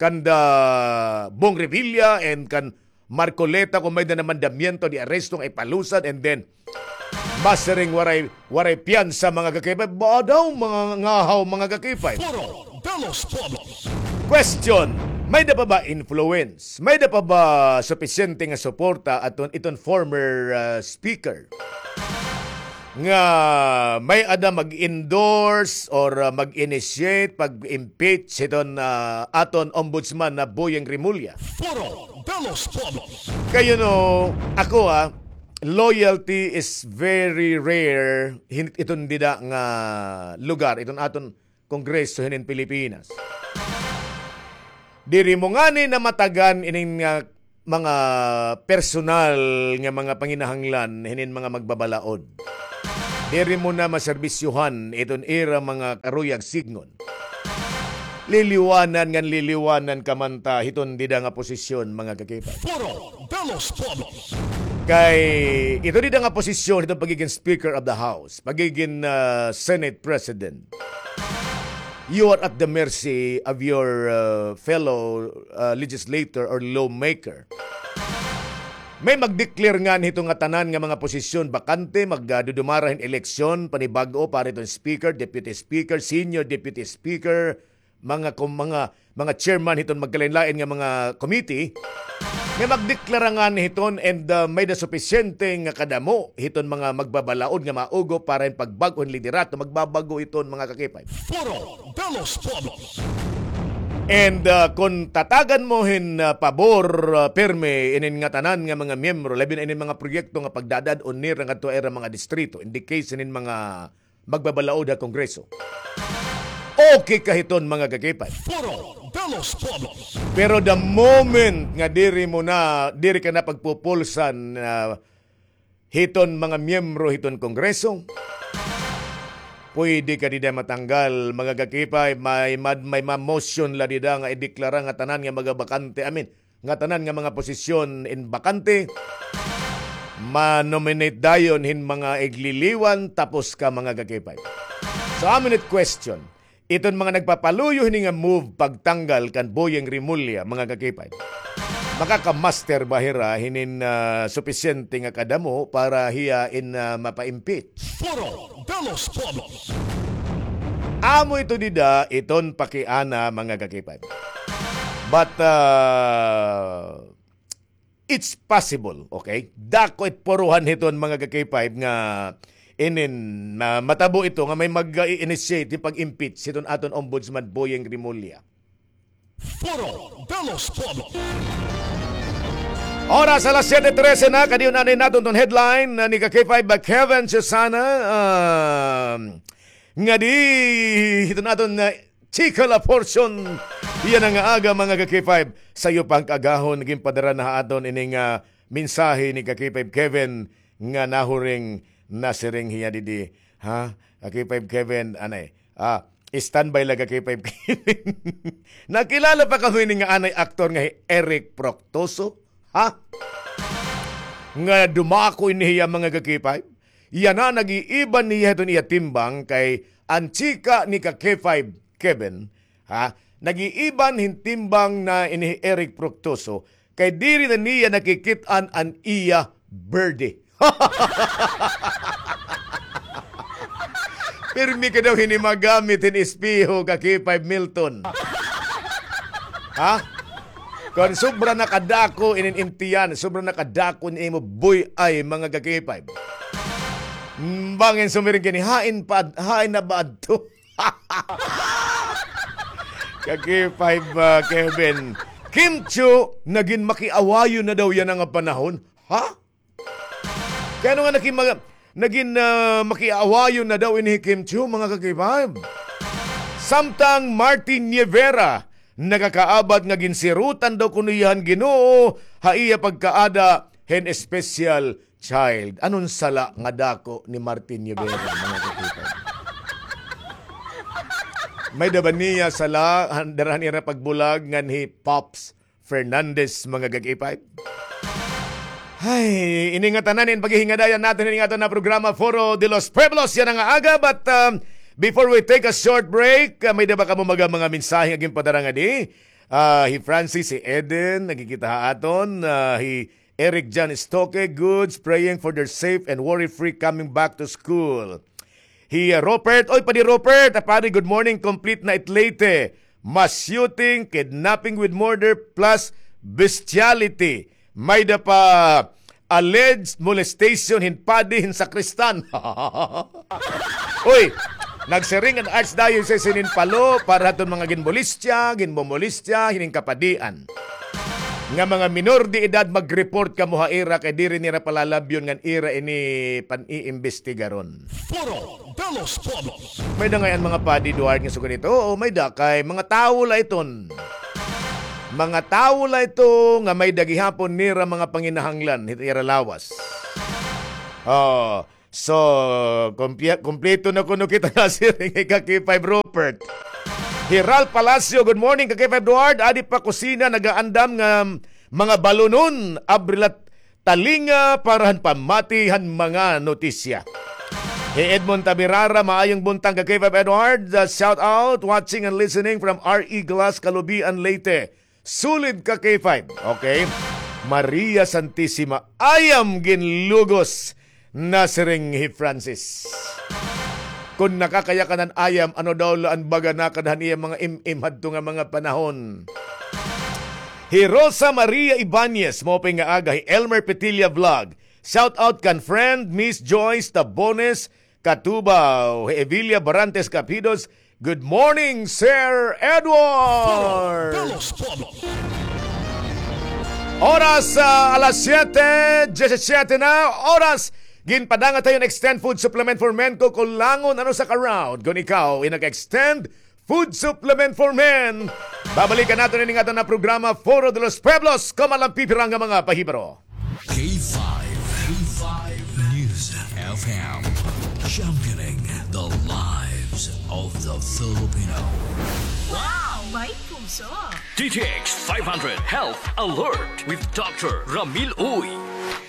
kanda Bong Revilla and kan Marcoleta, kon may-ada na mandamiento de arresto nga ipalusad, and then masiring waray, waray piyansa, mga ka-K five. Ba daw, mga ngahaw, mga ka-K five. Foro de los Pueblos. Question, may-ada pa ba influence? May-ada pa ba supisyente nga suporta aton iton former, ah, speaker? Nga may-ada mag-endorse or, ah, mag-initiate pag-impeach hiton, ah, aton ombudsman na Boying Remulla. Foro de los Pueblos. Kay, you know, ako, ah, loyalty is very rare hin-, iton dida nga lugar, iton aton Kongreso hinin Pilipinas. Diri mo ngani namatagan inin nga mga personal nga mga panginahanglan hinin mga magbabalaod. Diri mo na maserbisyohan iton ira mga karuyag sidngon. Liliwanan ngan liliwanan ka man ta hiton dida nga posisyon, mga ka-K five. Foro de los Pueblos. Kay ito dida nga posisyon, ito pagiging Speaker of the House, pagiging, ah, Senate President, you are at the mercy of your, ah, fellow, ah, legislator or lawmaker. May mag-declare ngan hito nga tanan nga mga posisyon bakante, mag, ah, dudumara hin eleksyon, panibag-o para hiton speaker, deputy speaker, senior deputy speaker, mga kom-, mga, mga chairman hiton magkalain-lain nga mga committee, nga magdeklara ngani hiton and, ah, may-ada supisyente nga kadamo hiton mga magbabalaod nga maugo para hin pagbag-o hin liderato, magbabag-o hiton mga ka-K five. Foro de los Pueblos. And, ah, kon tatagan mo hin, ah, pabor, ah, pirme inin ngatanan nga mga miyembro, labi na inin mga proyekto nga pagdadad-on nira ngadto ha ira mga distrito, in the case inin mga magbabalaod ha Kongreso. Okay ka hiton, mga ka-K five. Foro de los Pueblos. Pero the moment nga diri mo na, diri ka na pagpupulsan, ah, hiton mga miyembro hiton Kongreso, pwede ka dida matanggal, mga ka-K five. May mad-, may ma-motion la dida nga ideklara nga tanan nga mga bakante, I mean, nga tanan nga mga posisyon in bakante, ma-nominate dayon hin mga igliliwan, tapos ka, mga ka-K five. So, amo ini it question. Iton mga nagpapaluyo hini nga move pagtanggal kan Boying Remulla, mga ka-K five, makaka-muster ba hira hinin, ah, supisyente nga kadamo para hiya in, ah, mapa-impeach? Foro de los Pueblos. Amo ito dida iton pakiana, mga ka-K five. But, ah, it's possible, okay? Dako it puruhan hiton, mga ka-K five, nga inin, ah, matabo ito nga may mag-i-initiate hin pag-impeach hiton aton Ombudsman Boying Remulla. Foro de los Pueblos. Oras alas siyete trese na, kadiyon anay naton ton headline, ah, ni ka-K five, ah, Kevin Susana, ah, ngadi hiton aton, ah, chika la portion yana nga aga, mga ka-K five. Sayo pa han kaagahon, ginpadara na ha aton ini nga mensahe ni ka-K five Kevin nga nahuring nasiring hiya didi. Ha? Ka-K five Kevin, anay. Ah, standby la ka-K five Kevin. Nakilala pa kamo ini nga anay aktor nga hi Eric Proctoso? Ha? Nga dumako ini hiya, mga ka-K five? Yana, nag-iiban niya hiton iya timbang kay an chika ni ka-K five Kevin, ha? Nag-iiban hin timbang na ini hi Eric Proctoso kay diri na niya nakikit-an an iya berde. Pirmi ka daw hini magamit hin espeho, ka-K five Milton. Ha? Kon sobra na kadako inin intiyan, sobra na kadako inin imo buy-ay, mga ka-K five. Mm, bangin sumiring ka ini, hain pa, hain na ba adto? Ka-K five, ah, Kevin. Kim Chiu, nagin makiawayon na daw yana nga panahon. Ha? Kay ano nga naki-, mga, nagin, ah, makiawayon na daw ini hi Kim Chiu, mga ka-K five. Samtang Martin Nievera, nakakaabat nga ginsirutan daw kuno hiya han Ginoo ha iya pagkaada hin special child. Anon sala nga dako ni Martin Llovera, mga kakipay? May-ada ba niya sala han, dara han ira pagbulag ngan hi Pops Fernandez, mga ka-K five? Ay, ini ngatanan in paghihingadayan naton ini nga aton nga programa, Foro de los Pueblos, yana nga aga. But, um, before we take a short break, uh, may-ada ba kamo mga, mga mensahe nga ginpadara ngadi? Ah, hi Francis, hi Eden, nagkikita ha aton, ah, hi Eric John Stoke, goods, praying for their safe and worry-free coming back to school. Hi, uh, Robert, oy, Padi Robert, ah, Padi, good morning, complete na it Leyte. Mass shooting, kidnapping with murder, plus bestiality. May-ada pa alleged molestation hin padi hin sakristan. Uy, nagsiring an Archdiocese hin Palo para haton mga ginmolestya, ginmomolestya hinin kapadian. Nga mga minor de edad, mag-report kamo ha ira kay diri nira palalabyon ngan ira ini pan-iimbestigaron. Foro de los Pueblos. May-ada ngay-an mga padi, Eduard, nga sugad hito? Oo, may-ada kay mga tawo la iton. Mga tawo la ito nga may-ada gihapon nira mga panginahanglan hit ira lawas. Oh, so, kumpya-, kumpleto na kuno kita nasiring, ka-K five Robert. Hi Ralph Palacio, good morning, ka-K five Eduard. Adi pa kusina, nagaandam nga mga balunon, abrilat talinga para han pamati han mga notisya. Hi Edmond Tabirara, maayong buntag, ka-K five Eduard. Uh, shout out, watching and listening from R E Glass, Calubian, Leyte. Sulid, ka-K five. Okay. Maria Santisima, ayam ginlugos, nasiring hi Francis. Kon nakakayakan an ayam, ano daw la an baga na kada han iya mga im-im hadto nga mga panahon. Hi Rosa Maria Ibanez, maupay nga aga. Hi Elmer Petilla Vlog. Shout out kan friend Miss Joyce Tabones Katubaw. Hi Evilia Barantes Capidos. Good morning, Sir Edward. Oras, ah, alas siyete, diyesisiyete na oras. Ginpadala ha iyo an Extend Food Supplement for Men, kukulangon an usa ka round kon ikaw in nag-Extend Food Supplement for Men. Babalikan naton ini nga aton nga programa, Foro de los Pueblos, kon may la pipira nga mga pahibaro. K five, K five News F M, championing the lives of the Filipino. Wow! May puso! D T X five hundred Health Alert with Doctor Ramil Uy.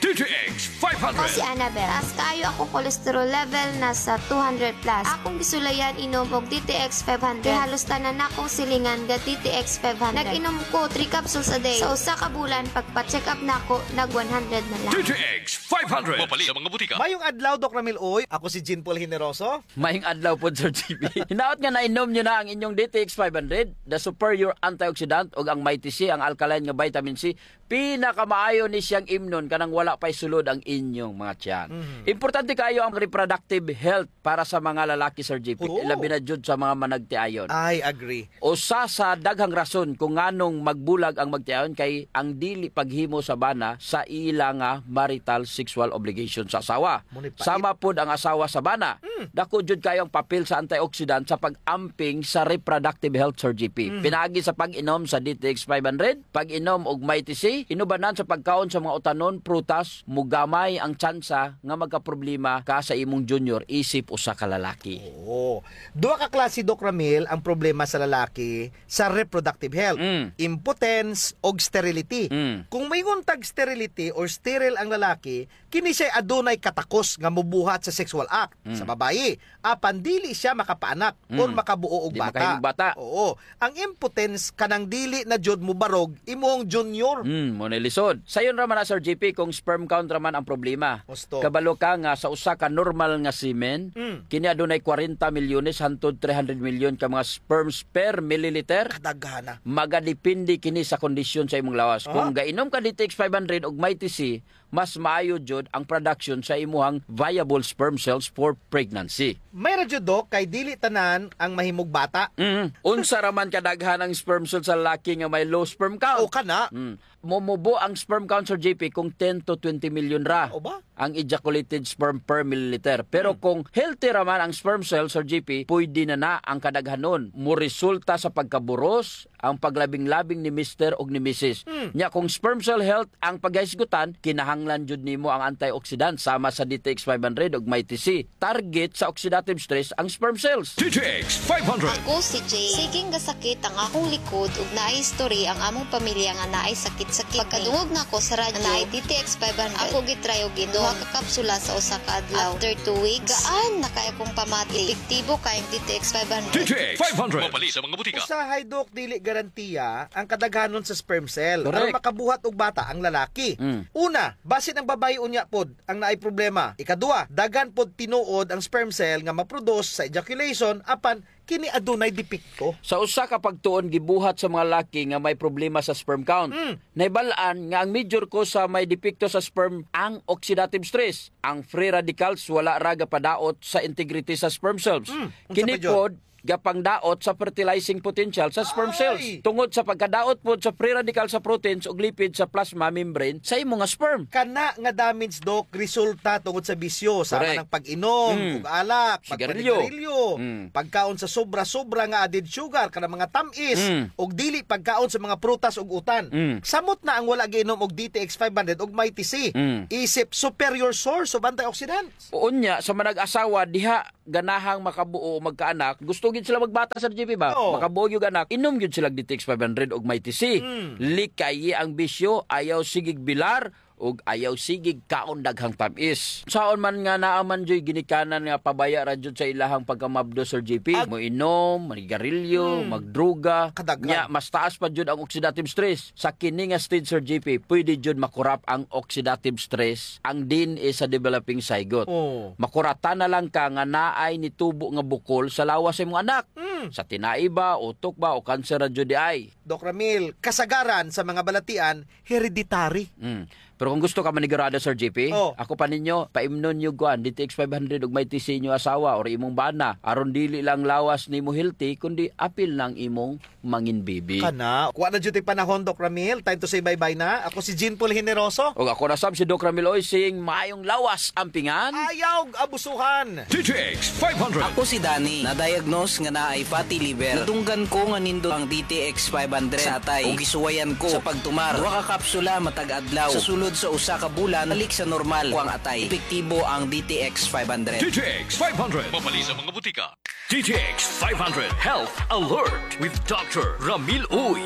D T X five hundred. Ako si Annabel. Taas kaayo akong cholesterol level, nasa two hundred plus. Akong gisulayan inom og D T X five hundred. Kay halos tanan nakong silingan ga D T X five hundred. Nag-inom ko three capsules a day. Sa usa ka bulan, pagpa-check up nako, nag one hundred na lang. D T X five hundred. Mapalit sa mga butika. Mayong adlaw, Doc Ramil Uy. Ako si Jean Paul Generoso. Mayong adlaw pod, Sir G P. Hinaot nga nainom niyo na ang inyong D T X five hundred, the superior antioxidant, ug ang Mighty C, ang alkaline nga vitamin C. Pinakamaayo ni siyang imnon kanang wala pa'y sulod ang inyong mga tiyan. Mhm. Importante kaayo ang reproductive health para sa mga lalaki, Sir G P. Oo. Labi na jud sa mga managtiayon. I agree. Usa sa daghang rason kung nganong magbulag ang magtiayon kay ang dili paghimo sa bana sa ila nga marital sexual obligation sa asawa. Mao ni pait. Sama pod ang asawa sa bana. Mm. Dako jud kaayo ang papel sa antioxidant sa pag-amping sa reproductive health, Sir G P. Mhm. Pinaagi sa pag-inom sa D T X five hundred, pag-inom og Mighty C, inubanan sa pagkaon sa mga utanon, prutas, mogamay ang tsansa nga magkaproblema ka sa imong junior isip usa ka lalaki. Oo. Duha ka klase, Doc Ramil, ang problema sa lalaki sa reproductive health. Mm. Impotence og sterility. Mm. Kung moingon tag sterility or sterile ang lalaki, kini siya'y adunay katakos nga mobuhat sa sexual act sa babayi, apan dili siya makapaanak or makabuo og bata. Mm. Di makahimog bata. Oo. Ang impotence kanang dili na jud mobarog imong junior. Mm, mao na lisod. Sayon ra man na, Sir G P, kung sperm count ra man ang problema. Husto. Kabalo ka nga sa usa ka normal nga semen, mm, kini adunay kwarenta milyones hantod three hundred milyon ka mga sperms per milliliter. Kadaghana. Magadepende kini sa kondisyon sa imong lawas. Ah. Kung gainom ka D T X five hundred ug Mighty C, mas maayo jud ang production sa imuhang viable sperm cells for pregnancy. May ra jud, Doc, kay dili tanan ang mahimog bata. Mm. Unsa ra man kadaghan ang sperm cell sa lalaki nga may low sperm count? O, kana. Mm. Mumubo ang sperm count, Sir J P, kung ten to twenty million ra. O ba? Ang ejaculated sperm per milliliter. Pero kung healthy ra man ang sperm cell, Sir J P, pwede na na ang kadaghanon. Moresulta sa pagkaburos ang paglabing-labing ni mister ug ni misis. Nya kung sperm cell health ang paghisgutan, kinahanglan jud nimo ang antioxidant sama sa D T X five hundred ug Mighty C. Target sa oxidative stress ang sperm cells. D T X five hundred. Ako si Jane. Sige nga sakit ang akong likod ug naay history ang among pamilya nga naay sakit-sakit. Pagkadungog nako sa radyo nga naay D T X five hundred, ako gitry og inom duha ka kapsula sa usa ka adlaw. After two weeks, gaan na kaayo akong pamati. Epektibo kaayo ang D T X five hundred. D T X five hundred. Mapalit sa mga butika. Usahay, Doc, dili garantiya ang kadaghanon sa sperm cell. Correct. Aron makabuhat og bata ang lalaki. Mm. Una, basin ang babaye unya pod ang naay problema. Ikaduha, daghan pod tinuod ang sperm cell nga ma-produce sa ejaculation, apan kini adunay depekto. Sa usa ka pagtuon gibuhat sa mga laki nga may problema sa sperm count. Mm. Nahibal-an nga ang major cause sa may depekto sa sperm ang oxidative stress. Ang free radicals wala ra gapadaot sa integrity sa sperm cells. Mm. Unsa pa jud? Kini pod gapangdaot sa fertilizing potential sa sperm cells. Ay! Tungod sa pagkadaot pod sa free radical sa proteins ug lipid sa plasma membrane sa imo nga sperm. Kana nga damage, Doc, resulta tungod sa bisyo, sama ng pag-inom ug alak, pagpanigarilyo, pagkaon sa sobra-sobra nga added sugar, kanang mga tam-is, ug dili pagkaon sa mga prutas ug utan. Samot na ang wala giinom og D T X five hundred ug Mighty C. Isip superior source of antioxidants. Unya, sa manag-asawa, diha ganahang makabuo o magkaanak, gusto gyud sila magbata, Sir J P, ba? Oo. Makabuo gyud anak, inom gyud sila D T X five hundred ug Mighty C. Mm. Likayi ang bisyo, ayaw sigig bilar, ug ayaw sigig kaon daghang tam-is. Saon man nga naa man juy ginikanan nga pabaya ra jud sa ilahang pagkamabdos, Sir J P, moinom, manigarilyo, magdruga. Kadaghan. Nya, mas taas pa jud ang oxidative stress. Sa kini nga stage, Sir J P, pwede jud makurap ang oxidative stress, ang D N A sa developing zygote. Oh. Makuratan na lang ka nga naay nitubo nga bukol sa lawas sa imong anak. Mm. Sa tinai ba, utok ba, o kanser ra jud diay. Doc Ramil, kasagaran sa mga balatian, hereditary. Mm. Pero kung gusto ka manigurado, Sir J P, oh, ako pa ninyo, paimnon niyo kuan, D T X five hundred ug Mighty C inyo asawa or imong bana, aron dili lang lawas nimo healthy, kundi apil na ang imong mangin baby. Kana, wa na jud tay panahon, Doc Ramil. Time to say bye-bye na. Ako si Jean Paul Generoso. Ug ako na sab si Doc Ramil Oysing. Maayong lawas, ampingan. Ayaw abusuhan. D T X five hundred. Ako si Danny. Na-diagnose nga naay fatty liver. Nadunggan ko nga nindot ang D T X five hundred sa atay. Ug gisuwayan ko sa pagtumar. Duha ka kapsula matag adlaw. Sa sulod sa usa ka bulan, balik sa normal ko ang atay. Epektibo ang D T X five hundred. D T X five hundred. Mapalit sa mga butika. D T X five hundred Health Alert with Doctor Ramil Uy.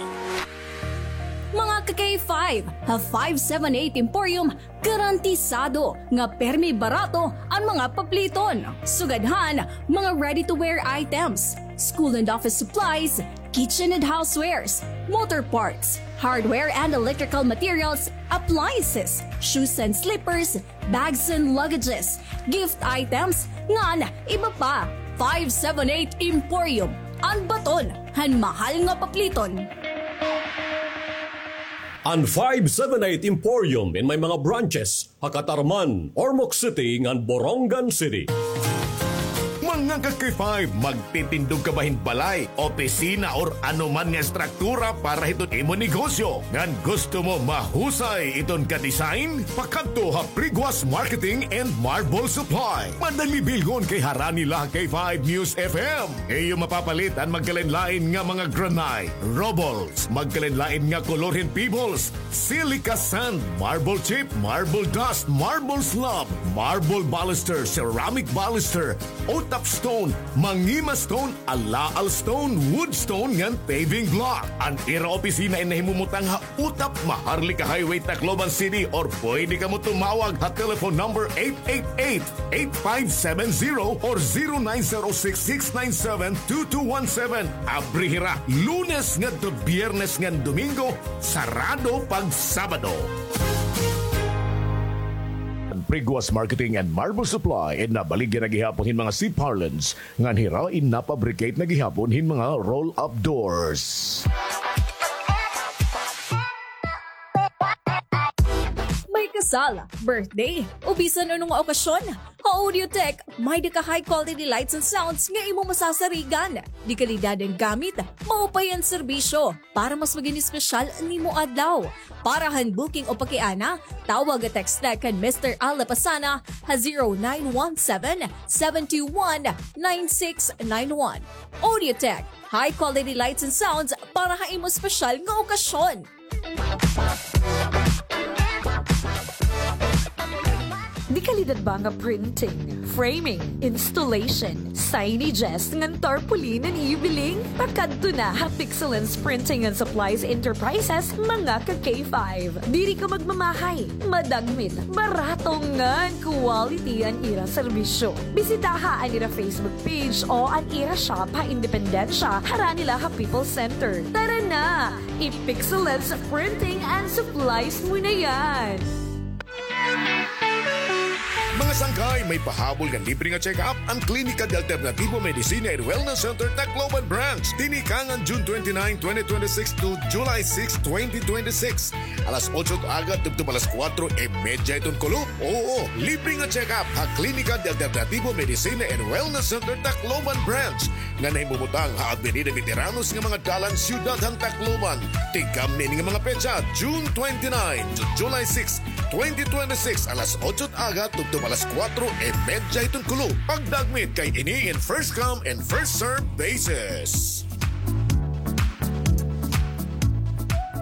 Mga ka-K five, ha five seven eight Emporium, garantisado nga permi barato an mga papliton. Sugad han mga ready-to-wear items, school and office supplies, kitchen and housewares, motor parts, hardware and electrical materials, appliances, shoes and slippers, bags and luggages, gift items, ngan iba pa. Five seven eight Emporium, an baton han mahal nga papliton. An five seven eight Emporium in may mga branches ha Catarman, Ormoc City, ngan Borongan City. Mga ka-K five, magtitindog ka ba hin balay, opisina, or ano man nga estruktura para hiton imo negosyo? Ngan gusto mo mahusay iton ka-design? Pakadto ha Priguas Marketing and Marble Supply. Madali bilgon kay harani la ha K five News F M. Iyo mapapalit an magkalain-lain nga mga granite, rubbles, magkalain-lain nga kolor hin pebbles, silica sand, marble chip, marble dust, marble slab, marble baluster, ceramic baluster, Otap stone, Mangima stone, Alaal stone, wood stone ngan paving block. An ira opisina in nahimumutang ha Otap, Maharlika Highway, Tacloban City, or pwede kamo tumawag ha telephone number eight eight eight, eight five seven zero or zero nine zero six, six nine seven, two two one seven. Abri hira Lunes ngadto Biyernes ngan Domingo, sarado pag Sabado. An Priguas Marketing and Marble Supply in nabaligya na gihapon hin mga C-parlance ngan hira in napabricate na gihapon hin mga roll-up doors. May kasal, birthday, o bisan ano nga okasyon. Ha Audiotech, may-ada ka high quality lights and sounds nga imo masasarigan. De-kalidad an gamit, maupay an serbisyo. Para mas maging espesyal an imo adlaw. Para han booking o pakiana, tawag o text la kan Mister Al Lapasana ha zero nine one seven, seven two one, nine six nine one. Audiotech, high quality lights and sounds para ha imo espesyal nga okasyon. De-kalidad ba nga printing, framing, installation, signages ngan tarpaulin an iyo biling? Pakadto na ha Pixelance Printing and Supplies Enterprises, mga ka-K five. Diri ka magmamahay, madagmit, barato ngan quality an ira serbisyo. Bisitaha an ira Facebook page o an ira shop ha Independencia, harani la ha People's Center. Tara na! I-Pixelance Printing and Supplies mo na yan! Mga sangkay, may pahabol nga libre nga check-up an Klinika de Alternativo Medicina and Wellness Center Tacloban Branch. Tinikangan June twenty-nine, twenty twenty-six to July six, twenty twenty-six. Alas otso it aga tubtob alas kuwatro y medya iton kulop. Oo, libre nga check-up ha Klinika de Alternativo Medicina and Wellness Center Tacloban Branch nga nahimumutang ha Avenida Veteranos nga mga dalan, siyudad han Tacloban. Tigkamni ini nga mga petsa, June twenty-nine to July six, twenty twenty-six, alas otso it aga tubtob alas kuwatro y medya iton kulop. Pagdagmit kay ini in first come and first serve basis.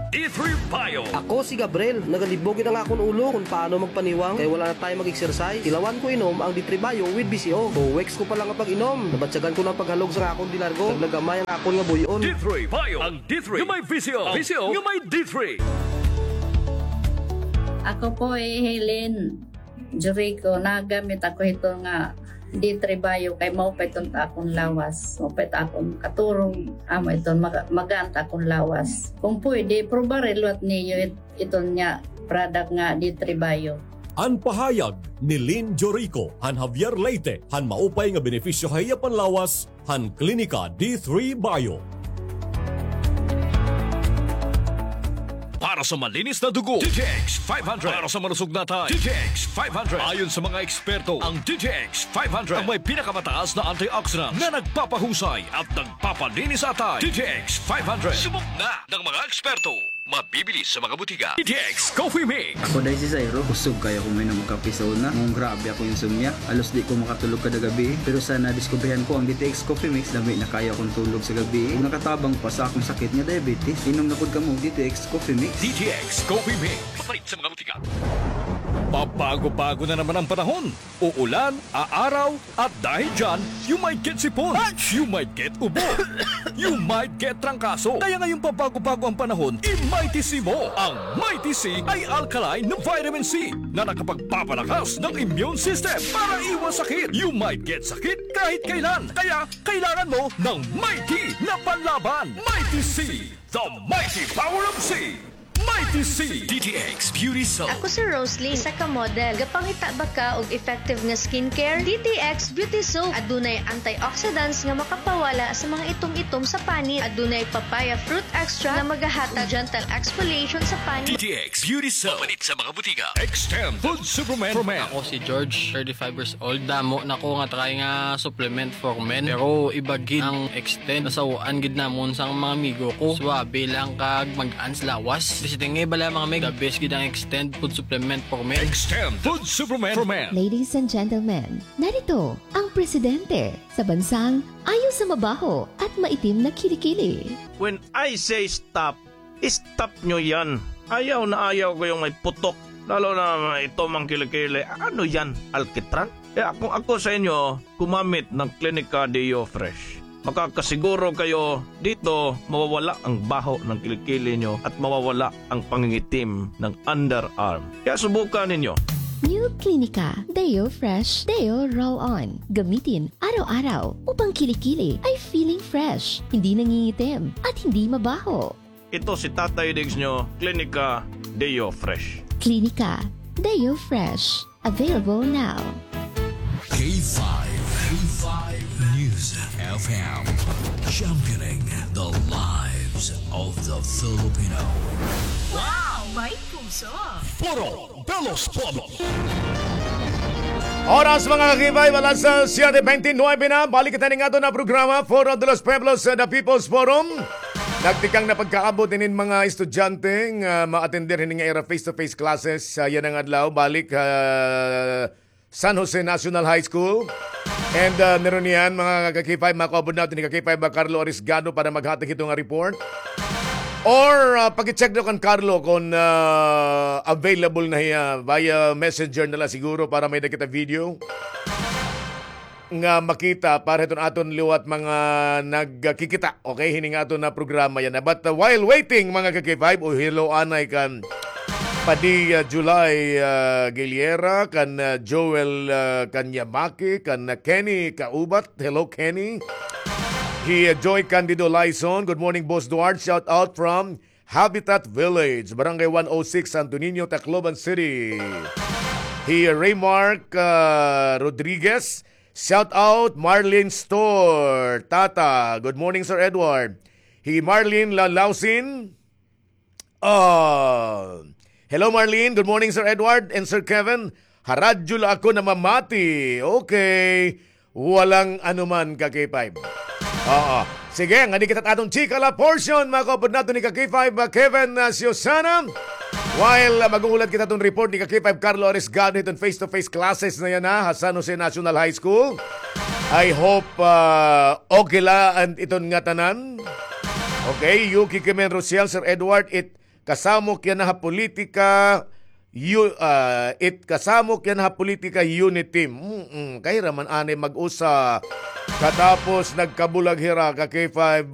D three Bio. Ako si Gabriel. Nagalibog gid an akon ulo kon paano magpaniwang kay wala na tayo mag-exercise. Tilawan ko inom ang D three Bio with B C O. Two weeks ko pa lang nga pag-inom, nabatyagan ko na an paghalog sa akon dinargo. Naglagamay an akon nga buy-on. D three Bio. Ang D three nga may B C O. Ang B C O nga may D three. Ako po hi Helen Jurico, nagamit ako hito nga D three Bio kay maupay iton ha akon lawas, maupay it akon katurog, amo iton maga-, magaan it akon lawas. Kung pwede, probare liwat niyo it-, iton nga product nga D three Bio. An pahayag ni Lynn Jorico han Javier Leyte han maupay nga benepisyo ha iya panlawas han Klinika D three Bio. Para sa malinis na dugo, D T X five hundred. Para sa malusog na atay, D T X five hundred. Ayon sa mga eksperto, ang D T X five hundred ang may pinakamataas na antioxidant na nagpapahusay at nagpapalinis sa atay. D T X five hundred. Subok na ng mga eksperto. Mabibili sa mga butika. D T X Coffee Mix. Ako day si Zairo, kusog kaayo ako moinom og kape sa una. Nganong grabe akon insomnia. Halos di ko makatulog kada gabii. Pero sa nadiskubrihan ko ang D T X Coffee Mix, lami na kaayo akon tulog sa gabii. Ug nakatabang pa sa akon sakit nga diabetes. Inom na pod kamo og D T X Coffee Mix. D T X Coffee Mix. Mapalit sa mga butika. Pabago-bago na naman ang panahon. Uulan, aaraw, at dahil dyan, you might get sipon, you might get ubo, you might get trangkaso. Kaya ngayong pabago-bago ang panahon, i-Mighty C mo. Ang Mighty C ay alkaline na vitamin C na nakapagpapalakas ng immune system para iwas sakit. You might get sakit kahit kailan. Kaya kailangan mo ng Mighty na panlaban. Mighty C, the mighty power of C. Mighty C. D T X Beauty Soap. Ako si Roslyn, isa ka model. Gapangita ba ka og effective nga skincare? D T X Beauty Soap. Adunay antioxidants nga makapawala sa mga itom-itom sa panit. Adunay papaya fruit extract nga magahatag gentle exfoliation sa panit. D T X Beauty Soap. Mapalit sa mga butika. Extend Food Supplement for Men. Ako si George, thirty-five years old. Damo na ko nga try nga supplement for men. Pero iba gid ang Extend. Nasaw-an gid namon sang mga amigo ko. Suabe lang kag magaan sa lawas. Basi tingi bala, mga mig. The best gid ang Extend food supplement for men. Extend food supplement for men. Ladies and gentlemen, narito ang presidente sa bansang ayaw sa mabaho at maitim na kilikili. When I say stop, stop nyo yan. Ayaw na ayaw ko yung may putok. Lalo na may itom ang kilikili. Ano yan? Alkitran? Kaya kung ako sa inyo, gumamit ng Klinika Deo Fresh. Makakasiguro kayo dito mawawala ang baho ng kilikili nyo at mawawala ang pangingitim ng underarm. Kaya subukan ninyo. New Klinika Deo Fresh Deo Roll-On. Gamitin araw-araw upang kilikili ay feeling fresh, hindi nangingitim, at hindi mabaho. Ito si Tatay Diggs nyo, Klinika Deo Fresh. Klinika Deo Fresh. Available now. K five, K five News F M, championing the lives of the Filipino. Wow! May puso. Foro de los Pueblos. Oras, mga ka-K five, alas, ah, siyete bente nuwebe na. Balik kita ning aton na programa, Foro de los Pueblos, ah, The People's Forum. Nagtikang na pagkaabot inin mga estudyante nga ma-attender hini nga ira face-to-face classes, ah, yana nga adlaw. Balik, ah, San Jose National High School. And, ah, meron niyan, mga ka-K five, makaupod naton ni ka-K five, ah, Carlo Arisgado para maghatag hito nga report. Or, ah, paki-check daw kan Carlo kung, ah, available na hiya via messenger na la siguro para may-ada kita video nga makita para hiton aton liwat mga nagkikita. Okay, hini nga aton na programa yana. But, uh, while waiting, mga ka-K five, o hello anay kan Padilla July, uh, Giliera, kan, uh, Joel, uh, Kanyamaki, kan, uh, Kenny Kaubat. Hello, Kenny. Hi, uh, Joy Candido Lyson. Good morning, Boss Duarte. Shout out from Habitat Village, Barangay one oh six, Santo Niño, Tacloban City. Hi, uh, Raymark, uh, Rodriguez. Shout out, Marlene Store. Tata. Good morning, Sir Edward. Hi Marlene Lalausin. Ah, hello, Marlene. Good morning, Sir Edward and Sir Kevin. Ha radyo la ako namamati. Okay. Walang anuman, ka-K five. Oo. Sige, ngadi kita aton chika la portion, mga kaupod naton ni ka-K five, uh, Kevin, uh, Susana. While, uh, maghuhulat kita aton report ni ka-K five Carlo Arisgado hiton face-to-face classes na yana, ha San Jose National High School. I hope, uh, okay la an iton ngatanan. Okay, Yuki Kimen Rosiel, Sir Edward, it kasamok yana ha politika, yu-, ah, it kasamok yana ha politika, unity. Mm-mm, kay hira man anay mag-usa. Katapos nagkabulag hira, ka-K five,